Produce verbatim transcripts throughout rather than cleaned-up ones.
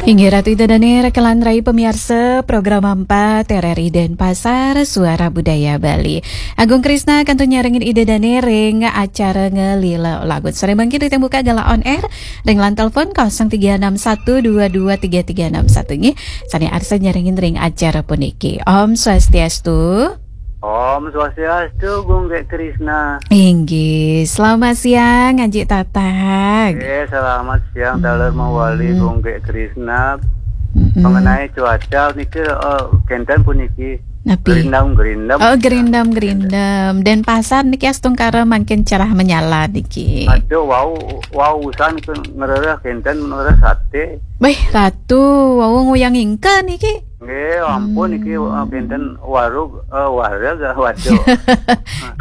Inggih Ratu Ida Dane rekelan rai pemiarsa program empat R R I Denpasar, Suara Budaya Bali. Agung Krisna kantun nyarengin Ida Dane ring acara Ngelila Lagu. Sore mangkin ring tembuka galah on air ring line telepon kosong tiga enam satu dua dua tiga tiga enam satu nggih. Sane arsa nyarengin ring acara puniki. Om Swastiastu. Om Swastiastu, Gung Gek Krisna. Inggih, selamat siang, Aji Tatag. Eh, selamat siang, taler mawali, Gung Gek Krisna. Mengenai cuaca niki, eh, kenten puniki. Napi? Gerindam-gerindam. Oh, gerindam-gerindam. Denpasar niki astungkara mangkin cerah menyala niki. Aduh, wau, wau usan ke ngerereh kenten ngerereh sate. Beh, Ratu, wau nguyang ingka niki. Nggih, ampun niki, eh, kenten warug, eh, wareg, eh, waduh.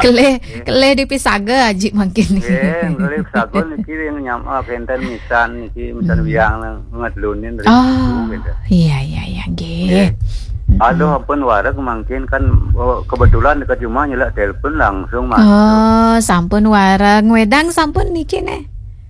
Kelih, kelih dipisaga Aji mangkin niki. Nggih, kelih saga niki ring nyam, eh, kenten misan niki, misan wiang ngedelunin ring situ, gitu. Iya, iya, iya, nggih. Nggih. Aduh, ampun wareg mangkin kan, oh, kebetulan dekat rumah nyelak telepon langsung masuk. Oh, sampun wareg. Ngwedang sampun niki, neh?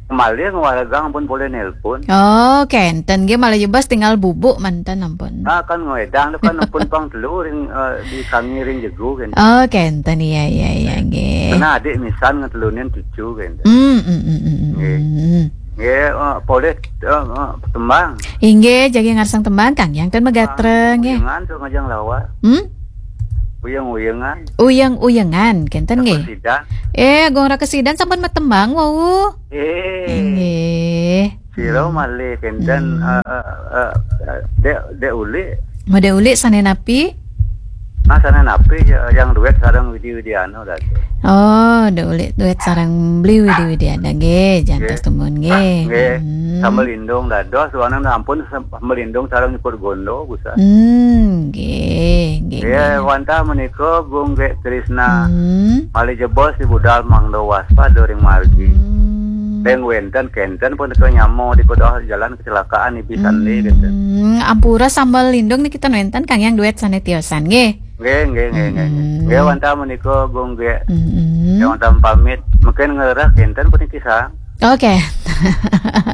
Malih ngwaregang ampun polih nelpon. Oh, kenten nggih, malih jebos tinggal bubuk manten ampun. Ah, kan ngwedang tu kan ampun pang telu ring, eh, di kami ring jegu kan. Oh, kenten, iya, iya, iya, nggih. Karena adik misan ngetelunin cucu kan. Hmm, hmm, hmm, hmm, hmm, Nggih. hmm. Nggih, eh, polih, eh, eh, tembang. Inggih, jagi ngarsang tembang, Kang Yang ten magatra, nggih. Uyengan tu ngajang lawar. Hmm? Uyeng-uyengan. Uyeng-uyengan, kenten nggih. Sidan. Eh, Agung Raka Sidan sampun matembang wau. Eh. Inggih. Sira malih kenten, eh, eh, eh, eh, Dek, Dek Ulik. Mode Ulik sane napi? Nah, sane napi ya, yang duet sareng Widi Widiano dah tu. Oh, Dek Ulik duet sareng Beli Widi Widiano nggih, jantos tumun nggih. Nggih. Hmm. Sambel Lindung dados, suanan ampun Sambel Lindung sareng Nyukur Gondo, busa. Hmm, nggih, nggih, Nggih, nggih. Wantah menika Gung Gek Krisna. Hmm. Malih jebos di budal mangda waspada ring margi. Hmm. Ring wenten kenten pun teka nyama di kedah jalan kecelakaan ibi sandi kenten. Hmm, ampura Sambel Lindung niki ten wenten Kang Yang duet sane tiosan nggih. Nggih, nggih, nggih, nggih. Hmm. Nggih, wantah menika Gung Gek. Hmm. Nggih, wantah pamit. Mungkin ngerah kenten puniki sang. Oke.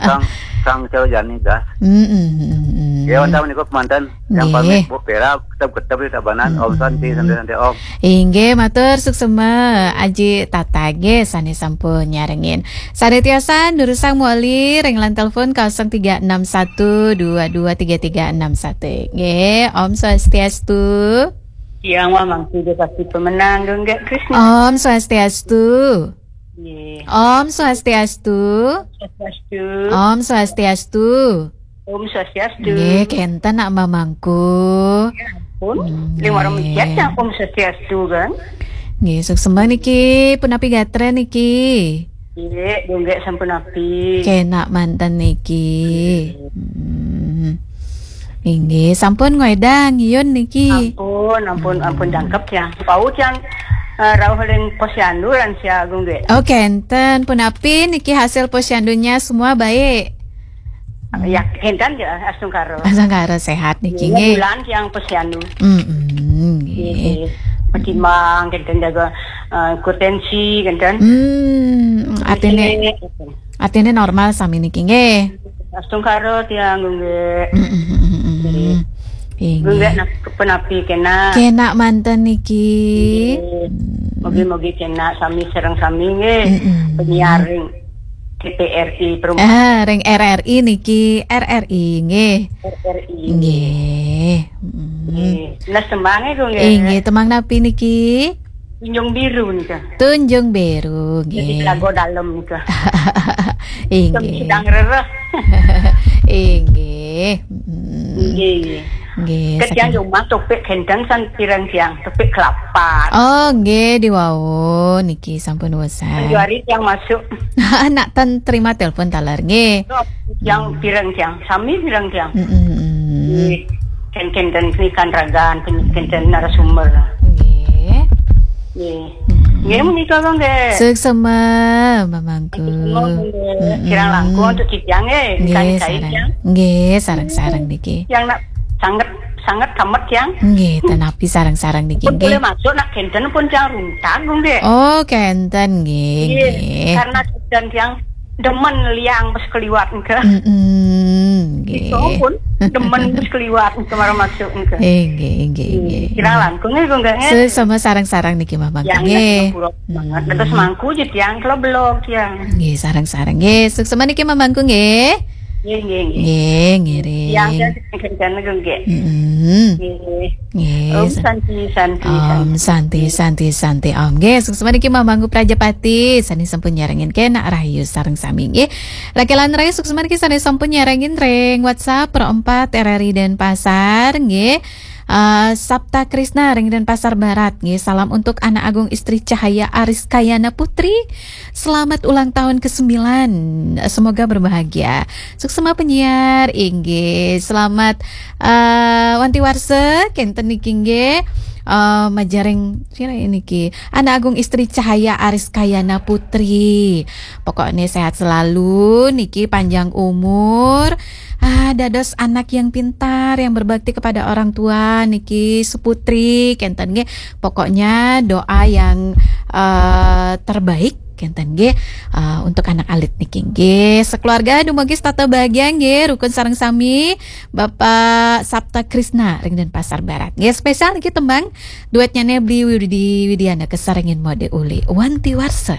Sang, sang Cau Jani dah. Hmm, hmm, hmm, hmm. Nggih, wantah menika kemanten. Yang Nggih. pamit Bu Pera, ketep-ketep di Tabanan. Om Santi, Hmm. Santi, Santi, Om. Inggih, matur suksema Aji Tatag nggih sane sampun nyarengin. Sane tiosan durusang mawali ring line telepon kosong tiga enam satu dua dua tiga tiga enam satu. Nggih, Om Swastiastu. Yang wah mangku dia pasti pemenang dong, Gek Krisna. Om Swastiastu. Nggih. Om Swastiastu. Swastiastu. Om Swastiastu. Om Swastiastu. Nggih, kenten nak mamangku. Ya ampun. Nggih. Lima orang mencet yang Om Swastiastu kan? Nggih, suksema niki, punapi gatra niki? Nggih, Gung Gek sampun api. Kenak manten niki. Nggih. Hmm. Inggih, sampun ngwedang yun niki. Ampun, ampun, ampun Hmm. jangkep tiang. Pau tiang, eh, rauh ring posyandu lan sia Gung Gek. Oh, kenten, punapi niki hasil posyandunya semua baik? Ya, kenten ya, astungkara. Astungkara sehat niki, Iya, nggih. Bulan tiang posyandu. Mm-mm, nggih. Nggih. Patimbang, kenten jaga, eh, hipertensi, kenten. Hmm, artine, Nggih. artine normal sami niki, nggih. Astungkara tiang, nggih. Mm-mm, mm-mm, mm-mm. Nggih. Nggih. Nggih, nah, kepenapi kena. Kena manten niki. Nggih. Hmm. Mugi-mugi kena sami sareng sami, nggih. Mm-mm. Penyiar ring T P R I Perumahan. Ah, ring R R I niki, R R I nggih. R R I. Nggih. Mm. Nggih. Nah, tembang itu nggih. Inggih, tembang napi niki? Tunjung Biru nika. Tunjung Biru, Jadi nggih. Telaga Dalem nika. Inggih. Sedang rereh. Inggih. Mm. Nggih, nggih. Nggih, Ketiang saking jumah topik kenten san pireng tiang, topik kelapa. Oh, nggih, diwau niki sampun wesen. Sanjuari tiang masuk. Nak ten terima telepon taler, nggih. Yang pireng tiang, sami pireng tiang. Mm-mm. Nggih. Ken-, kenten penikan ragan, pen-, kenten narasumber. Nggih. Nggih. Mm-mm. Nggih, menika, Bang, nggih. Suksema, Mamangku. Suksema, nggih. Mm-mm. Kirang langkung untuk titiang, nggih. Nggih, Ikan ikai, sareng. Tiang. Nggih, sareng-sareng niki. Yang nak sanget, sanget kamet, tiang. Nggih, tenapi sareng-sareng niki, Pun nggih. Boleh masuk, nak kenten pun tiang runtag, nggih. Oh, kenten, nggih, Nggih, nggih. Karena kenten tiang demen liang pas keliwat, nggih. Mm-mm, nggih. Itu pun. Demen wis keliwat kemarin masuk niku. Inggih, inggih, inggih. Kirang langkung niku nggih. Suksma sareng-sareng niki Mamang Yang nggih. Pura banget. Terus mangku je tiang kula belog tiang. Nggih, sareng-sareng nggih. Suksma niki Mamangku nggih. Nggih, nggih, nggih. Nggih, ngiring. Yang saya kan niku nggih. Mm-mm. Nggih. Nggih. Om sa- Santi, Santi, Om Santi. Santi, Santi, Santi, Om. Nggih, suksma niki Mamangku Prajapati, sane sampun nyarengin kena rahayu sareng sami nggih. Laki lan Rai suksma niki sane sampun nyarengin ring WhatsApp Pro empat R R I Denpasar nggih. Eh, Sabta Krisna ring Denpasar Barat nggih. Salam untuk Anak Agung Istri Cahaya Ariskayana Putri. Selamat ulang tahun ke sembilan. Semoga berbahagia. Suksma penyiar inggih. Selamat eh wanti warsa kenten niki nggih. Eh majaring sira niki Anak Agung Istri Cahaya Ariskayana Putri. Pokoknya sehat selalu niki, panjang umur. Ah, dados anak yang pintar, yang berbakti kepada orang tua niki, suputri kenten nggih. Pokoknya doa yang eh, terbaik kenten nggih eh, untuk anak alit niki nggih. Sekeluarga dumugi setata bahagia nggih, rukun sareng sami Bapak Sabta Krisna ring Denpasar Barat. Nggih, spesial niki tembang duetnya Nebli Widi Widiana kesarengin Mode Uli, Wanti Warsa.